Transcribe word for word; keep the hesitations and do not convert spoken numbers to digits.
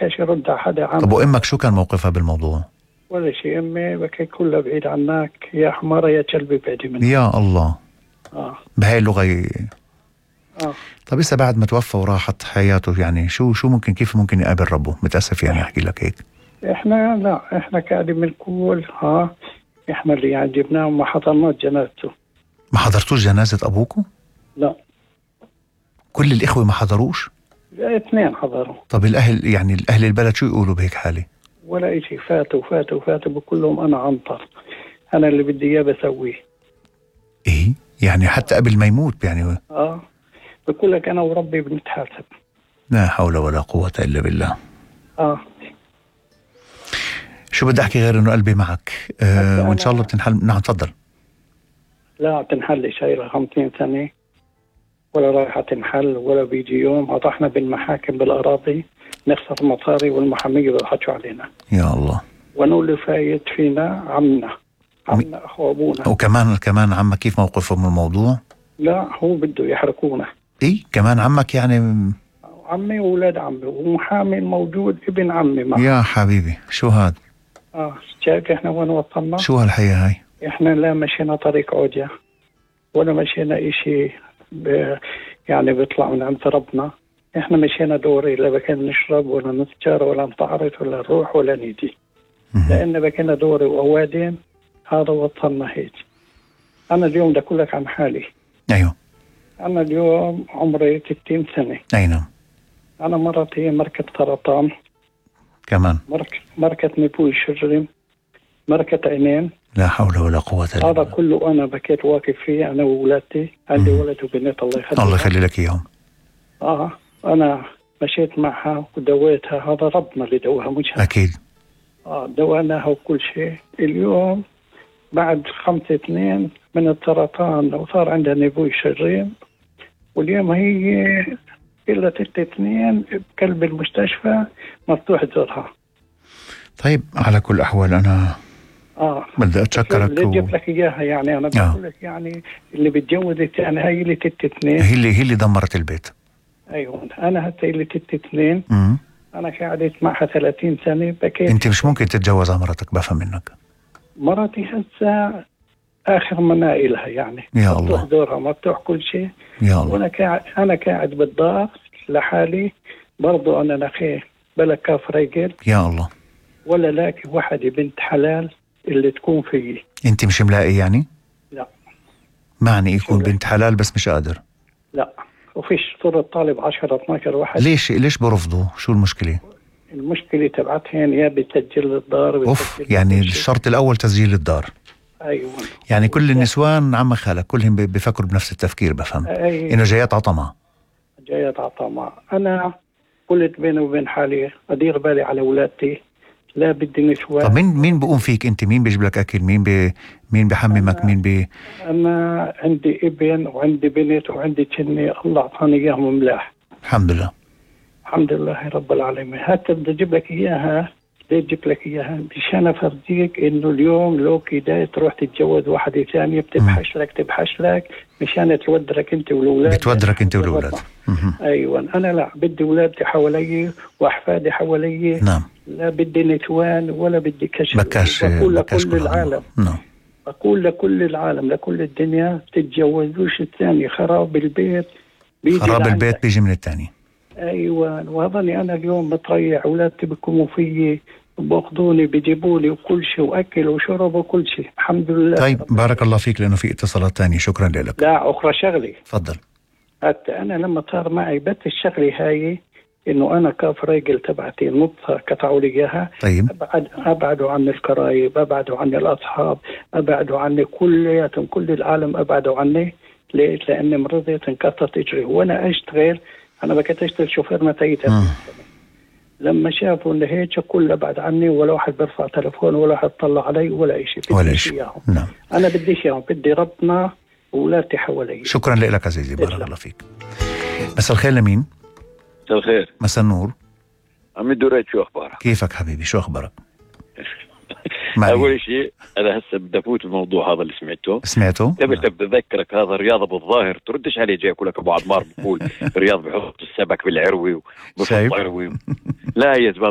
بكاش يرد على حدا عنها. طب وأمك شو كان موقفها بالموضوع؟ ولا شيء، أمي بكي كلها بعيد عنك، يا حمارة يا كلبي بعدي منك. يا الله. آه. بهاي اللغة ي... آه. طب إسا بعد ما توفى وراحت حياته يعني شو شو ممكن كيف ممكن يقابل ربه؟ متأسف يعني أحكي لك هيك. إحنا لا إحنا قاعدين بنقول ها إحنا اللي يعني جبناه وما حضرناش جنازته. ما حضرتوش جنازة أبوكم؟ لا. كل الإخوة ما حضروش؟ اثنين حضروا. طب الأهل يعني الأهل البلد شو يقولوا بهيك حالة؟ ولا إشي، فاتوا فاتوا فاتوا بقول لهم أنا عنطر، أنا اللي بدي إياه بسويه. إيه يعني حتى قبل ما يموت يعني؟ آه بقول لك أنا وربي بنتحاسب. لا حول ولا قوة إلا بالله. آه شو بدي أحكي غير إنه قلبي معك آه وإن شاء الله بتنحل. نعم تفضل. لا تنحل شيء ل خمسين سنة ولا رايحة تنحل ولا بيجي يوم. أطحنا بالمحاكم بالأراضي نخسر مصاري والمحامية بيضحكوا علينا. يا الله. ونقول فايت فينا عمنا عمنا أخو أبونا. وكمان كمان عمك كيف موقفه من الموضوع؟ لا هو بده يحرقونا. إيه كمان عمك يعني؟ عمي وولاد عمي ومحامي موجود ابن عمي معه. يا حبيبي شو هاد؟ اه شايف احنا وين وصلنا؟ شو هالحياة هاي؟ احنا لا مشينا طريق عودية ولا مشينا اشي ب... يعني بيطلع من عند ربنا. احنا مشينا دوري، لا بكنا نشرب ولا نتجار ولا نتعرض ولا نروح ولا نيجي، لان بكنا دوري واوادين. هذا وصلنا هيك. انا اليوم بدي اقول لك عن حالي. ايوه. انا اليوم عمري ستين سنة. اي نعم. انا مرتي مركة سرطان، كمان مرك... مركة نبوي شجري، مركة عينين. لا حول ولا قوة إلا بالله. هذا كله أنا بكيت واقف فيه أنا وولادتي. عندي ولد وبنت الله يخليك. الله يخلي لك إياهم. آه أنا مشيت معها ودويتها. هذا ربنا اللي دوها مش أكيد. آه دواناها وكل شيء. اليوم بعد خمسة اثنين من السرطان وصار عندها نبوي شجري، واليوم هي إلا ستة اثنين بقلب المستشفى مفتوح زورها. طيب على كل أحوال أنا آه بدي أتشكرك. اللي جبت لك إياها يعني أنا بقول لك يعني اللي بتجوزت يعني هاي اللي تت اثنين هي اللي هي اللي دمرت البيت. أيوة أنا هسه اللي تت اثنين. امم أنا قعدت معها ثلاثين سنة بكيت. أنت مش ممكن تتجوز على مرتك بفهم منك. مرتي هسه آخر منائلها يعني. يا مفتوح الله. دورها مفتوح كل شيء. يا الله. وأنا قاعد أنا قاعد بالدار لحالي برضو. أنا نخيه بلا كاف رجل يا الله. ولا لاقي واحدة بنت حلال اللي تكون فيي. أنت مش ملاقي يعني؟ لا. معني يكون بنت حلال بس مش قادر. لا وفيش صورة طالب عشرة اثناشر واحد. ليش ليش برفضوا؟ شو المشكلة؟ المشكلة تبعتهن يا بتسجل الدار. أوف يعني الشرط الأول تسجيل الدار. أيوة. يعني كل النسوان عم خالك كلهم بيفكروا بنفس التفكير بفهم. أيوة. إنه جايات عطمة. جايات عطمة. أنا قلت بيني وبين حالي أدير بالي على أولادتي، لا بدي نسوان. طب مين مين بقوم فيك أنت؟ مين بيجيب لك أكل؟ مين بي مين بحممك؟ مين بي أنا عندي ابن وعندي بنت وعندي تني الله أعطاني إياهم ملاح الحمد لله. الحمد لله رب العالمين. حتى بدي أجيب لك إياها بدي أجيب لك إياها مشان أفرجيك إنه اليوم لو كده تروح تتجوز واحدة ثانية بتبحش لك تبحش لك مشان تودرك أنت والأولاد. بتودرك أنت والأولاد. أيوة. أنا لا بدي أولادي حوالي وأحفادي حوالي. نعم. لا بدي نتوان ولا بدي كشف. بكاش بقول بكاش لكل العالم. نعم. بقول لكل العالم لكل الدنيا تتجوزوش الثاني. خراب البيت بيجي خراب البيت بيجي من الثاني. أيوة. وهذاني أنا اليوم بتريح أولادي بيكونوا فيي باخذوني بيجيبوا لي وكل شيء وأكل وشرب وكل شيء الحمد لله. طيب بارك الله فيك لأنه في اتصالات تانية. شكرا لك. لا أخرى شغلي. تفضل. حتى أنا لما صار معي بس الشغلة هاي إنه أنا كاف راجل تبعتي نطفة قطعوا لي إياها. طيب. أبعد أبعدوا عن القرايب، أبعدوا عن الأصحاب، أبعدوا عني كلياتهم، كل العالم أبعدوا عني. ليش؟ لأني مرضت انقطعت إجري وأنا أشتغل. أنا بكيت أشتغل شوفير متيتة. لما شافوا إن هيك كل أبعد عني ولا واحد برفع تلفون ولا واحد طلع علي ولا شيء. ولا شيء. نعم. أنا بدي إياهم بدي ربنا وولادي حوالي. شكرا لك عزيزي بارك الله فيك. مساء الخير لمين؟ مساء الخير. مساء النور. عمي دريد شو أخبارك؟ كيفك حبيبي شو أخبارك؟ أول شيء أنا هسه بدي أفوت الموضوع هذا اللي سمعته. سمعته؟ قبل بدي أذكرك هذا الرياضة بالظاهر تردش عليه. جاي أقول لك أبو عمار بقول الرياض بحط السمك بالعروي وبحط عروي. لا يا زلمة